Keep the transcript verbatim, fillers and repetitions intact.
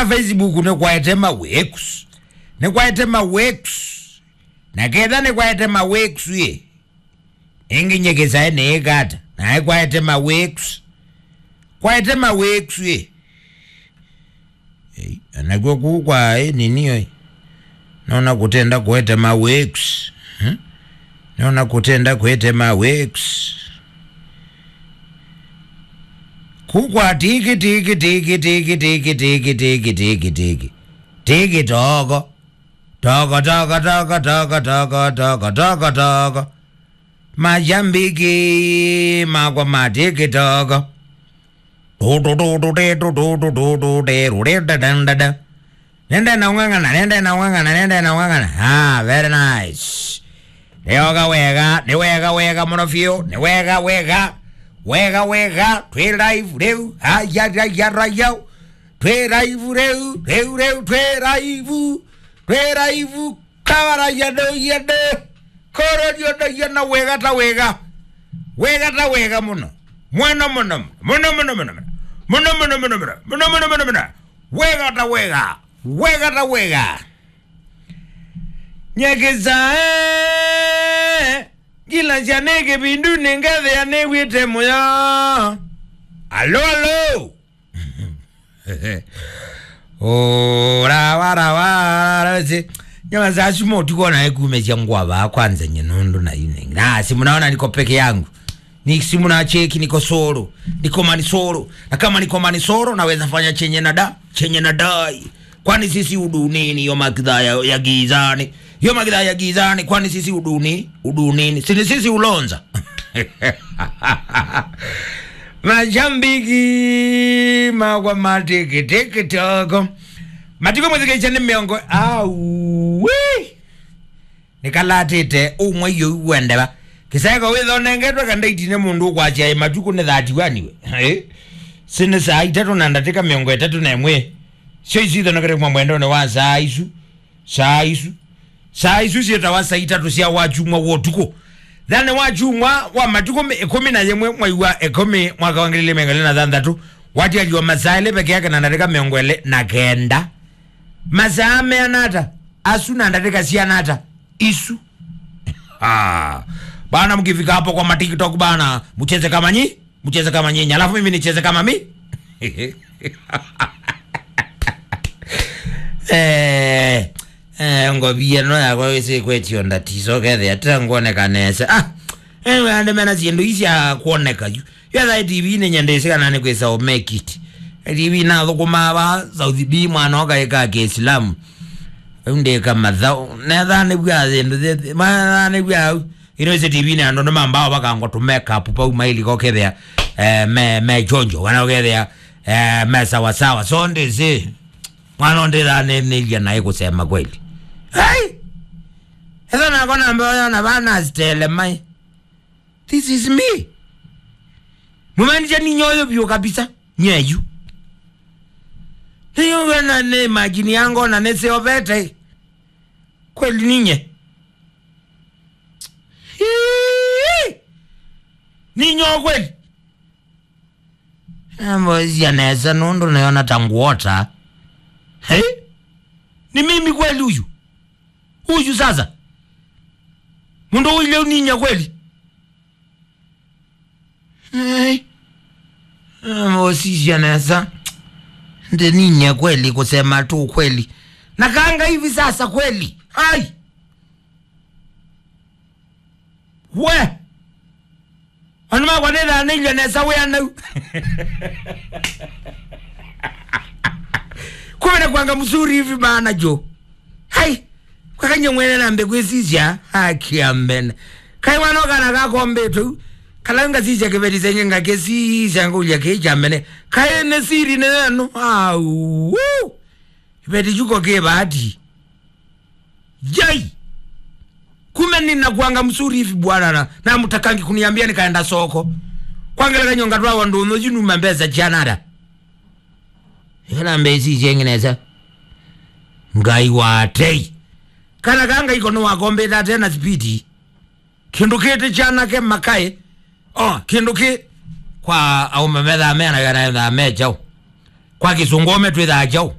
Facebook nĩkwaete ma wakes. Nĩkwaete ma wakes. Na ketha nĩkwaete ma wakes ĩ. Ĩngĩ nyekĩsae nĩĩkata. Naĩ kwaete ma wakes. Kwaete ma wakes ĩ. Ei, anakw'o kũu kwa ĩ nini oi. Nona kũtenda kũete ma wakes. Hmm? Nona kũtenda kũete ma wakes. Kũu kwa tiki, tiki, tiki, tiki, tiki, tiki, tiki, tiki, tiki. Tiki toko. Toko, toko, toko, toko, toko, toko, toko, toko. Mashabiki makwa ma tiki toko. Nende na ung'ang'ana, nende na ung'ang'ana, nende na ung'ang'ana. Ah, very nice. Nĩ oga wega, nĩ wega wega mũno biũ, nĩ wega wega. Wega wega, twĩ live rĩu. Aya, aya, aya. Twĩ live rĩu, rĩu, rĩu, twĩ live. Twĩ live. Kawara ya ndo ya ndo. Koro yo ndo ya na wega ta wega. Wega ta wega mũno. Mũno, mũno, mũno, mũno, mũno, mũno. Mũno, mũno, mũno, mũno. Mũno, mũno, mũno, mũno. Wega ta wega. Wega ta wega. Nyekĩsae. Ngila sya nĩ kĩvindu nĩ ngethĩa nĩw'ĩte mũyo. Alo, alo. Ora, wara, wara, si. Nyama za sumo tuko na ekume cia ngwa ba kwanza nye nundu na ine. Na si mnaona niko peke yangu. Ni si mnacheki niko solo. Niko Manisolo. Na kama niko Manisolo naweza fanya chenye nada, chenye nadai. Kwani sisi udunini yo magidha ya, ya gizani. Yo magidha ya gizani. Kwani sisi uduni, udunini. Sini sisi ulonza. Mashabiki makwa ma tiki tiki toko. Matukũ mwĩthukĩĩsya nĩ mĩongo. Awi. Nĩkalatĩte ũmwe iyo wendeva. Kĩseko wĩthonengetwe kandaiti nĩ mũndũ ũkwasya ĩ matukũ nĩ thirty-one we. Eh? Sini saa itatũ na ndatĩka mĩongo ĩtatũ na ĩmwe. Syo isu ithonekete kuma mwendonĩ wa saa isu. Saa isu. Saa isu syĩtawa saa itatũ sya wakyumwa wa ũtukũ. Thĩnĩ wa kyumwa wa matukũ mĩ-, ĩkũmi na yĩmwe mwai wa ĩkũmi mwaka wa ngili ilĩ mĩongo ĩlĩ na thanthatũ, watialiwa masaa elĩ peke yake na ndatĩka mĩongo ĩlĩ na kenda. Masaa meana ata? Asu na ndatĩka siana ata? Isu. Ah. Bana, mkifika hapo kwa ma TikTok bana, mcheze kama nyi. Mcheze kama nyinyi, alafu mimi nicheze kama mi. Eh, eh, ngovia no yakwa wĩsĩ kwetio ndatiso kethĩa tira nguoneka nesa. Ah, eh, we ande mena syĩndũ ii sya kuoneka yu. Yetha TV nĩ nyendesĩ kana nĩ kwĩsa o make it. TV nathũkũmaa va South B mwana ũkaĩka Kĩislamu. Rĩu ndĩka mathaũ. Netha nĩw'a syĩndũ syĩ, matha nĩw'a au. Ino isi TV nĩ andũ nĩmambaa vakangwa tũ makeup pau mailika ũkethĩa, eh, me, me chonjo, kana ũkethĩa, eh, me sawa sawa. So ndĩsĩ, mwana ũndĩthanĩnĩlya naĩ kũsema kweli. Hey! Etha nakwa namba yona vana stele mai. This is me. Mumaanisha ni nyoyo vyo kabisa. Nyeyu. Niyo na ne imagine yangu na nese ovete. Kweli ninye. Hii! Ninyo kweli. Nambosia nesa nundu nayona ta nguota. Hey? Ni mimi kweli huyu? Huyu sasa? Mundu uile uninya kweli? Hey. Nambosia nesa. Ndi ninye kweli, kusema tu kweli. Nakanga hivi sasa kweli. Ai. We! Andũ makwa nĩthanĩilye nesa wĩa nau. Kumbe nakuanga mzuri hivi bana jo. Hai! Kwakany'a mwene nambe kwĩsisya, haki ya mbene. Kaĩ wana kana kakombĩtwe u, kala ngasisya kĩveti senye ngakĩsisya ngũlya kĩĩ kya mbene. Kaĩ nĩ siri nĩ yenu. Au! Kĩveti kyuko kĩ bahati. Jai! Kumbe ninakuanga mzuri hivi bwana na, na mtakangi kuniambia nikaenda soko. Kwa ngelekany'o ngatwawa ndũnyũ yu numa mbesa sya nada. Ĩkana mbesa ici ingĩ nesa. Ngai wa tei. Kana ka Ngai ko nĩwakombĩte ate na speed. Kĩndũ kĩtĩ kyanake makaĩ. O, kĩndũ kĩ kwa aũme methaa meanaw'a na ethaa me kyaũ. Kwa kĩsũngũ ome twĩthaa kyaũ.